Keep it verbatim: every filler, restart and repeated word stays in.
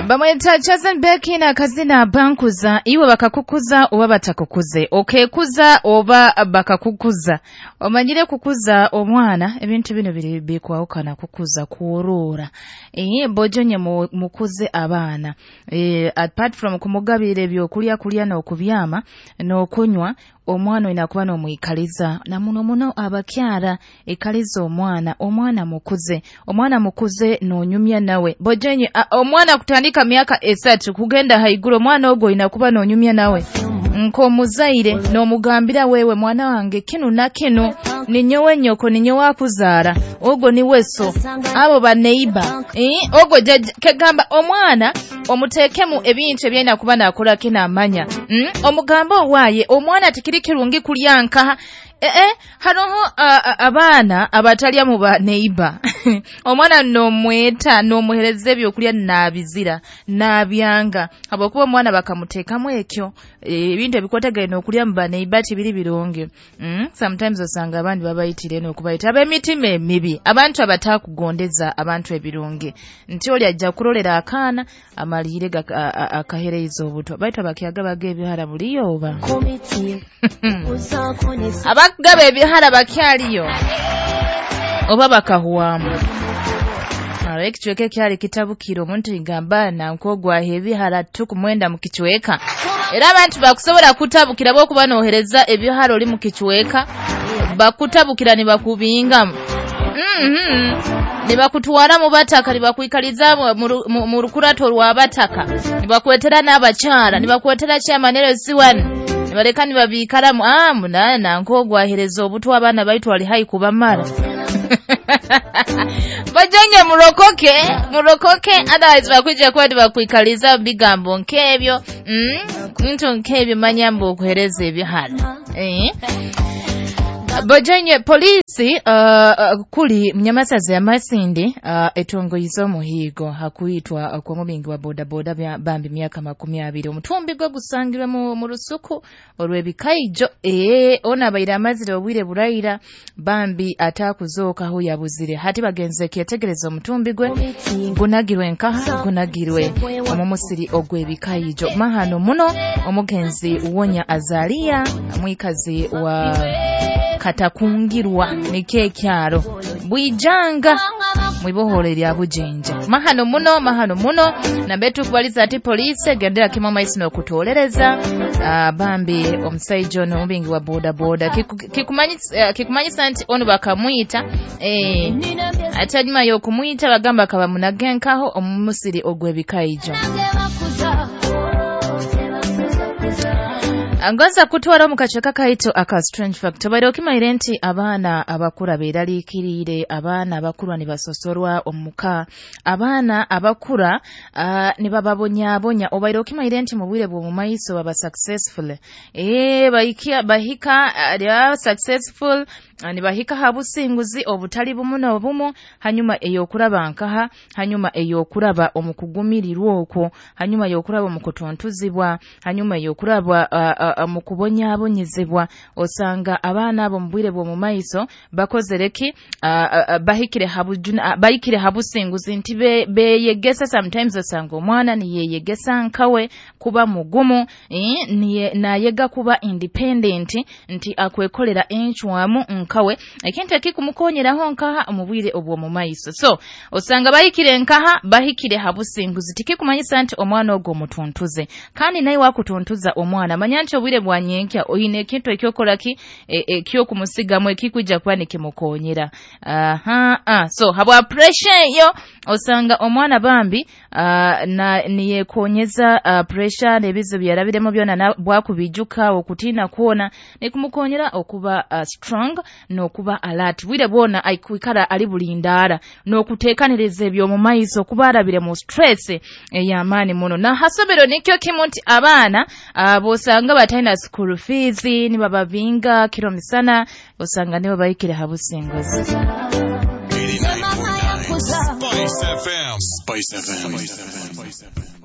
Bamweta Chosen Becky na kazina bankuza, iwe bakakukuza oba batakukuze, okekuza oba bakakukuza. Omanyire kukuza omwana ebintu bino biri bikwawukana kukuza kuorora. Eh bojonye mukuze abaana. Eh apart from kumugabira ebyokulya kulya n'okubyama n'okunywa, omwana inakuwa n'omwikaliza na muno muno abakyara ikaliza omwana, omwana mukuze, omwana mukuze n'onyumya nawe. Bojenye omwana kutandika myaka esatu kugenda haiguru, omwana ogwo inakuba n'onyumya nawe nkomuzaire n'omugambira wewe mwana wange kinu na kinu ninyowe nyoko ninyowe akuzara ogwo ni weso abo baneiba eh ogwo kegamba omwana omutekemu ebintu ebyina kuba nakola kina amanya mm? Omugambo waye omwana tikiri kirungi kulyanka eh eh haroho abaana abatalya mu ba neiba omwana nomweta nomuhereza ebyokulya nabizira nabyanga abakuba omwana bakamutekamu ekyo ebintu ebikotegere nokulya mu ba neiba tibiri birungi mm? Sometimes osanga abandi babayitire nokubayita ab'emitima emibi, abantu abatakugondeza abantu ebirungi nti oli ajja kulolera akaana amalire akahereiza obutwa baitu abakyaga baga ebihara buliyo oba abagaba ebihara bakyaliyo oba bakahuwamu. Ekicweka ekyali kitabukira omuntu igamba nankogwa ebihara tukumwenda mu kicweka, era abantu bakusobola kutabukira bokuba nohereza ebihara oli mu kicweka bakutabukira ne bakubingamu mhm nibakutwara mu bataka nibakwikaliza mu rukurato rwa bataka nibakwetera n'abakyara nibakwetera chairman L C one nibaleka nibabikaramu ah munana nkogwahereza obutwa abaana baitu ali hai kubamara. Bajenge murokoke murokoke otherwise bakwija kwa nibakwikaliza bigambo nkebyo mm nto nkebyo manyambo okuhereza ebihara eh Bajenge polisi uh, kuli mnyamasazi ya Masindi uh, etongoizo muhigo hakuitwa uh, kwa mubingi wa boda boda bambi miaka makumi abiri omutumbi gwe gusangirwe mu, mu rusuku olw'ebikaijo ee ona abaire amazire obwire buraira bambi atakuzokaho yabuzire hati bagenze kyetegereza omutumbi gwe gunagirwe nkaha gunagirwe omumusiri ogw'ebikaijo mahano muno omugenzi Wonya Azalia mwikazi wa Katakungirwa nike kyaro bwijanga mwibohole lya bujinja mahano muno mahano muno na betu kubaliza ati polisi gendera kimwe maisi no kutolereza uh, bambi omusaijo no mubingi wa boda boda kikumanyisa kikumanyisa nti ono bakamwita eh atajima yo kumwita bagamba akaba munagenkaho omumusiri ogw'ebikaijo. Angoza kutwara mu kaceka kaito aka strange fact bairo kimaire nti abaana abakura beraliikirire abaana abakura nibasosorwa omuka abaana abakura uh, nibababonyabonya obairo kimaire nti mu bwire bwo mu maiso baba successful eh bahikia bahika uh, successful uh, nibahika habusinguzi obutali bumu obumu hanyuma eyokuraba nkaha hanyuma eyokuraba omukugumirirwa okwo hanyuma eyokuraba omukutontuzibwa hanyuma eyokuraba uh, uh, mukubonyabonyezebwa osanga abaana abo mu bwire bwo mu maiso bakozereki uh, uh, bahikire habujuna uh, bahikire habusinguzi nti beyegesa sometimes osanga omwana niyeyegesa nkawe kuba mugumu eh, niye nayega kuba independent nti akwekolera enchwamu nkawe ekintu ekikumukonyeraho nkaha mu bwire obwo mu maiso so osanga bahikire nkaha bahikire habusinguzi tikikumanyisa nti omwana ogwo mutuntuze kandi naye wakutuntuza omwana manya nti obwire bwanyenkya oyine ekintu ekyokola ki ekyokumusigamu ekikuja kuba nikimukonyera aha ah so habwa pressure yo osanga omwana bambi uh, na niyekonyeza uh, pressure n'ebizibu byarabiremu byona bwakubijuka okutina kuona nikumukonyera okuba uh, strong n'okuba alert bwire bwona aikwikara ali bulindara n'okutekaniriza ebyo mu maiso kubarabire mu stress ey'amaani muno na hasomero nikyo kimu nti abaana uh, bosanga batalina school fees nibababinga kiro misana osanga nibo bahikire habusinguzi. eighty-nine point nine Spice F M. Spice F M. Spice F M.